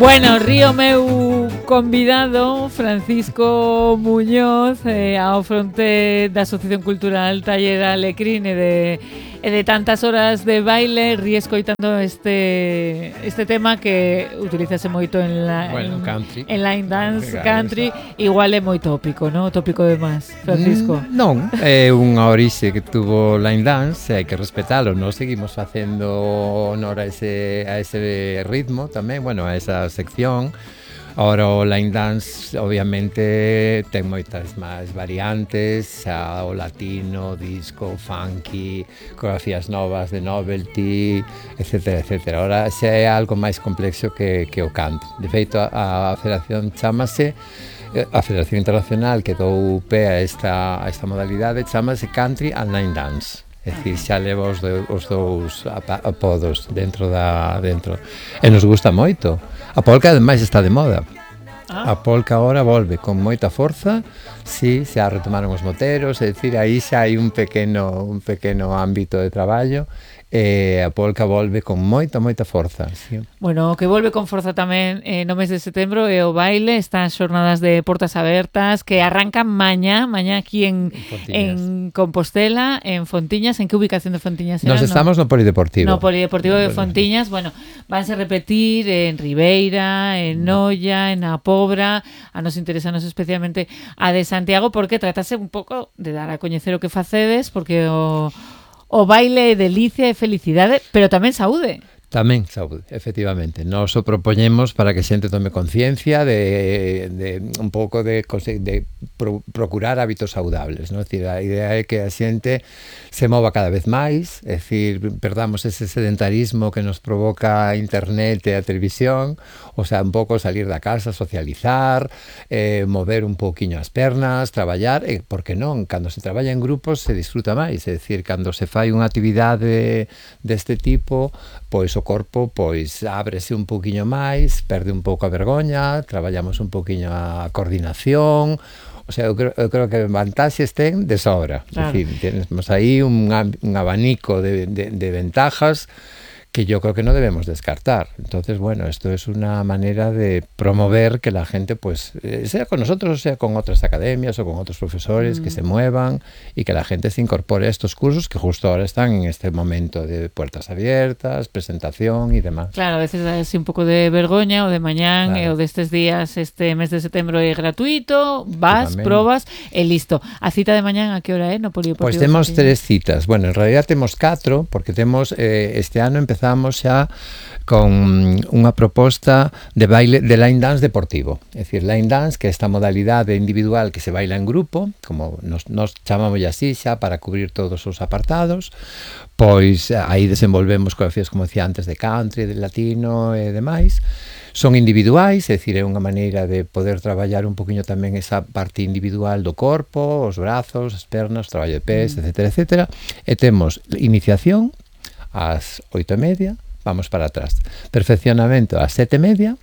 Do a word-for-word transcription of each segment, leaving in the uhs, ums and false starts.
Bueno, río meu convidado Francisco Muñoz eh, ao fronte da Asociación Cultural Taller Alecrín e de, e de tantas horas de baile, ríe escoitando este este tema que utilízase moito en la bueno, en, country. en line dance country, igual é moi tópico, ¿no? Tópico de máis, Francisco. Mm, non, é unha orixe que tuvo line dance, hai que respetalo, nós seguimos facendo honor a ese a ese ritmo tamén, bueno, a esa sección. Ahora o line dance obviamente ten moitas máis variantes, xa o latino, disco, funky, coreografías novas de novelty, etcétera, etcétera. Ahora xa é algo máis complexo que, que o canto. De feito, a, a federación chamase, a Federación Internacional que dou pé a esta, a esta modalidade chamase Country and Line Dance. É dicir, xa leva os, do, os dous apodos dentro da dentro. E nos gusta moito. A polka ademais está de moda. Ah. A polka agora volve con moita forza. Si, sí, xa retomaron os moteros, é dicir, aí xa hai un pequeno un pequeno ámbito de traballo. E a polka volve con moita, moita forza, sí. Bueno, o que volve con forza tamén eh, no mes de setembro é o baile, estas xornadas de portas abertas que arrancan mañá, mañá aquí en, en Compostela, en Fontiñas. En que ubicación de Fontiñas será? Nos estamos no, no Polideportivo. No Polideportivo de Fontiñas, bueno, vanse repetir en Ribeira, en Noia, en A Pobra. A nos interesanos especialmente a de Santiago, porque tratase un pouco de dar a coñecer o que facedes, porque o O baile é delicia e felicidade, pero tamén saúde. Tamén saúde, efectivamente. Nos o propoñemos para que a xente tome conciencia de, de un pouco de, de pro, procurar hábitos saudables, non? É dicir, a idea é que a xente se mova cada vez máis, é dicir, perdamos ese sedentarismo que nos provoca a internet e a televisión, o sea, un pouco salir da casa, socializar, eh, mover un pouquiño as pernas, traballar, e, por que non? Cando se traballa en grupos se disfruta máis, é dicir, cando se fai unha actividade deste tipo, pois o corpo pois ábrese un pouquiño máis, perde un pouco a vergoña, traballamos un pouquiño a coordinación. O sea, eu creo, eu creo que vantaxes ten de sobra. Claro. É dicir, temos aí un, un abanico de, de, de ventajas que yo creo que no debemos descartar. Entonces, bueno, esto es una manera de promover que la gente, pues, eh, sea con nosotros o sea con otras academias o con otros profesores, mm. que se muevan y que la gente se incorpore a estos cursos que justo ahora están en este momento de puertas abiertas, presentación y demás. Claro, a veces da así un pouco de vergoña o de mañán, claro. E o destes días, este mes de setembro é gratuito, vas, probas e listo. A cita de mañán a que hora é no Polideportivo? Pues temos tres citas. Bueno, en realidad temos catro, porque temos eh, este ano empezamos Empezamos xa con unha proposta de baile de line dance deportivo. É dicir, line dance, que é esta modalidade individual que se baila en grupo, como nos, nos chamamos así xa para cubrir todos os apartados, pois aí desenvolvemos coreografías, como decía antes, de country, de latino e demais. Son individuais, é dicir, é unha maneira de poder traballar un poquinho tamén esa parte individual do corpo, os brazos, as pernas, o traballo de pés, mm. etcétera, etcétera. E temos iniciación ás oito e media, vamos para atrás. Perfeccionamento ás sete e media,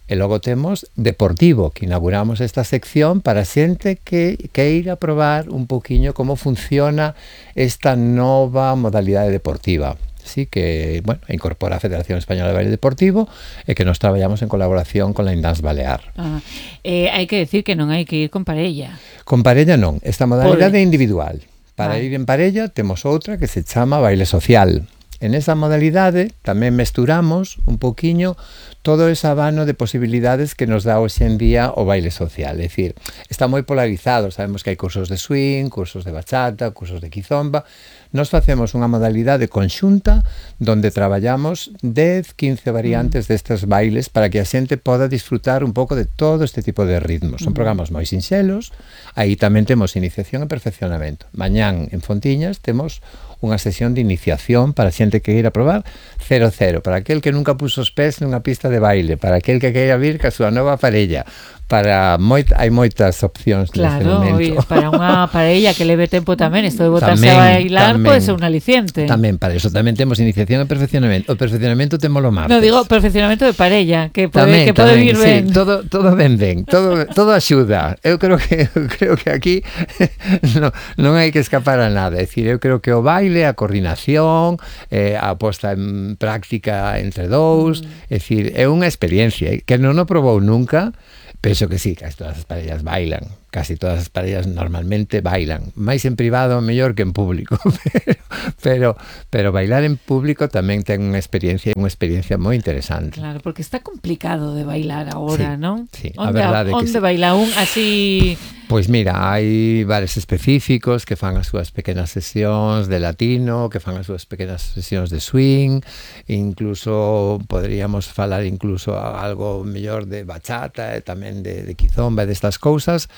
e logo temos deportivo, que inauguramos esta sección para xente que queira probar un poquinho como funciona esta nova modalidade deportiva. Así que, bueno, incorpora a Federación Española de Baile Deportivo e que nos traballamos en colaboración con la Line Dance Balear. Ah, eh, hai que decir que non hai que ir con parella. Con parella non, esta modalidade é individual. Para ah. ir en parella temos outra que se chama baile social. En esa modalidade tamén mesturamos un poquinho todo ese abano de posibilidades que nos dá hoxe en día o baile social. É dicir, está moi polarizado, sabemos que hai cursos de swing, cursos de bachata, cursos de kizomba. Nos facemos unha modalidade conxunta donde traballamos dez, quince variantes mm. destes bailes para que a xente poda disfrutar un pouco de todo este tipo de ritmos. Son mm. programas moi sinxelos, aí tamén temos iniciación e perfeccionamento. Mañán en Fontiñas temos unha sesión de iniciación para xente que queira probar cero cero, para aquel que nunca puso os pés nunha pista de baile, para aquel que queira vir ca súa nova parella, para moit, hai moitas opcións claro, neste momento. Claro, para unha parella que leve tempo tamén, isto de botarse tamén, a bailar pode ser un aliciente. Tamén, para eso tamén temos iniciación e perfeccionamento. O perfeccionamento témolo martes. No, digo perfeccionamento de parella, que pode, tamén, que pode tamén, vir sí, ben. Todo, todo ben ben, todo, todo axuda. Eu creo que eu creo que aquí non, non hai que escapar a nada. É dicir, eu creo que o baile baile, a coordinación, eh, a posta en práctica entre dous, mm. é dicir, é unha experiencia que non o probou nunca. Penso que sí, casi todas as parellas bailan, casi todas as parellas normalmente bailan, máis en privado mellor que en público, pero, pero, pero bailar en público tamén ten unha experiencia, unha experiencia moi interesante. Claro, porque está complicado de bailar agora, sí, non? Sí, onde, a verdade onde que sí. baila un así... Pois mira, hai bares específicos que fan as súas pequenas sesións de latino, que fan as súas pequenas sesións de swing, incluso poderíamos falar incluso algo mellor de bachata e tamén de, de quizomba e destas cousas.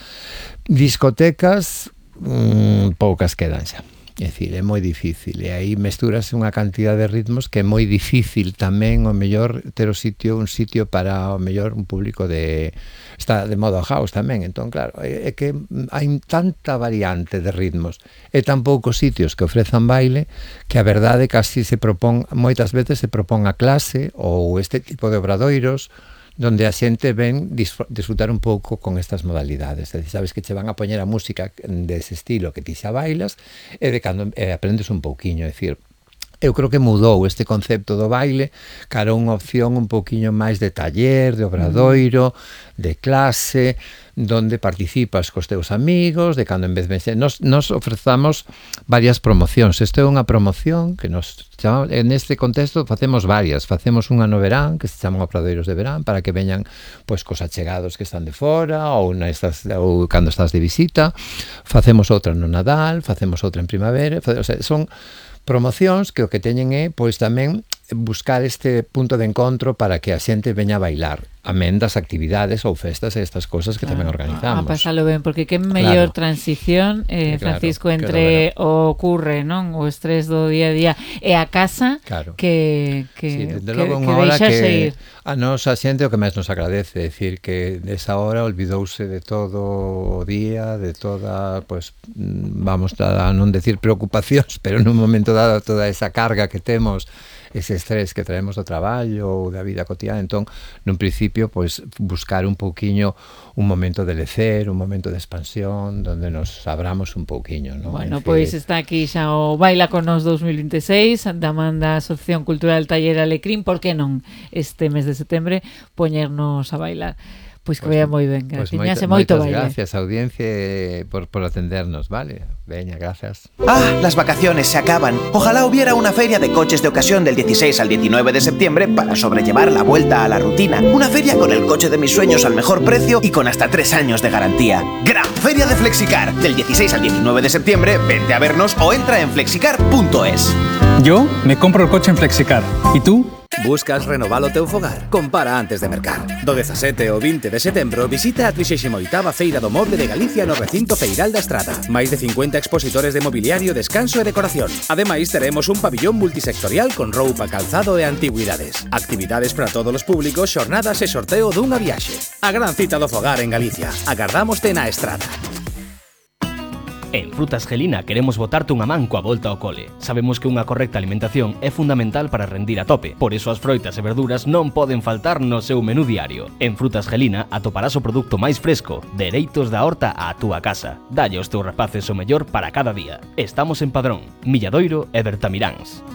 Discotecas, mmm, poucas quedan xa. É dicir, é moi difícil, e aí mestúrase unha cantidad de ritmos que é moi difícil tamén o mellor ter o sitio, un sitio para o mellor un público de está de modo house tamén, entón claro, é, é que hai tanta variante de ritmos e tan poucos sitios que ofrezan baile que a verdade casi se propón, moitas veces se propón a clase ou este tipo de obradoiros donde a xente ven disfrutar un pouco con estas modalidades. É dicir, sabes que che van a poñer a música dese estilo que ti xa bailas e de cando eh, aprendes un pouquiño, é dicir, eu creo que mudou este concepto do baile cara a unha opción un pouquiño máis de taller, de obradoiro, de clase, donde participas cos teus amigos, de cando en vez de... Nos, nos ofrezamos varias promocións. Isto é unha promoción que nos chama, en este contexto facemos varias. Facemos unha no verán, que se chaman obradoiros de verán, para que veñan pois, cos achegados que están de fora, ou, na estás, ou cando estás de visita. Facemos outra no Nadal, facemos outra en primavera. O sea, son promocións que o que teñen é pois tamén buscar este punto de encontro para que a xente veña a bailar, amén das actividades ou festas e estas cosas que claro, tamén organizamos. A pasalo ben, porque que mellor claro. transición, eh, claro, Francisco, entre o ocurre, non? O estrés do día a día e a casa claro. que que, sí, desde que, logo que unha hora que ir. A nos a xente o que máis nos agradece, é dicir que nesa hora olvidouse de todo o día, de toda, pues, vamos a non decir preocupacións, pero nun momento dado toda esa carga que temos, ese estrés que traemos do traballo ou da vida cotidiana, entón, nun principio, pois, buscar un pouquiño un momento de lecer, un momento de expansión, donde nos abramos un pouquiño, non? Bueno, pois está aquí xa o Baila con Nos dos mil vinte e seis, da man da Asociación Cultural Taller Alecrín, por que non este mes de setembro poñernos a bailar? Pois que pues, vaya moi ben, gracias. Pues moita, moito baile. Gracias, audiencia, por, por atendernos, vale? Veña, gracias. Ah, las vacaciones se acaban. Ojalá hubiera una feria de coches de ocasión del dieciséis al diecinueve de septiembre para sobrellevar la vuelta a la rutina. Una feria con el coche de mis sueños al mejor precio y con hasta tres años de garantía. Gran Feria de Flexicar. Del dieciséis al diecinueve de septiembre, vente a vernos o entra en flexicar punto es. Yo me compro el coche en Flexicar. ¿Y tú? Buscas renovar o teu fogar? Compara antes de mercar. Do dezasete ao vinte de setembro visita a trixésima oitava Feira do Moble de Galicia no recinto Feiral da Estrada. Máis de cincuenta expositores de mobiliario, descanso e decoración. Ademais, teremos un pabillón multisectorial con roupa, calzado e antigüidades. Actividades para todos os públicos, xornadas e sorteo dunha viaxe. A gran cita do fogar en Galicia. Agardámoste na Estrada. En Frutas Gelina queremos botarte unha man coa volta ao cole. Sabemos que unha correcta alimentación é fundamental para rendir a tope. Por iso as froitas e verduras non poden faltar no seu menú diario. En Frutas Gelina atoparás o produto máis fresco, dereitos da horta á túa casa. Dalle aos teus rapaces o mellor para cada día. Estamos en Padrón, Milladoiro e Bertamiráns.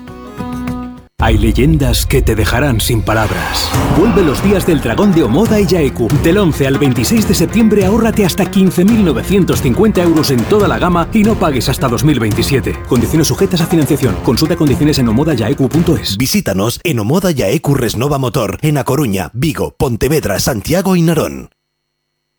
Hay leyendas que te dejarán sin palabras. Vuelve los días del dragón de Omoda y Yaeku. Del once al veintiséis de septiembre ahórrate hasta quince mil novecientos cincuenta euros en toda la gama y no pagues hasta dos mil veintisiete. Condiciones sujetas a financiación. Consulta condiciones en omoda yaeku punto es. Visítanos en Omoda Yaeku Resnova Motor, en A Coruña, Vigo, Pontevedra, Santiago y Narón.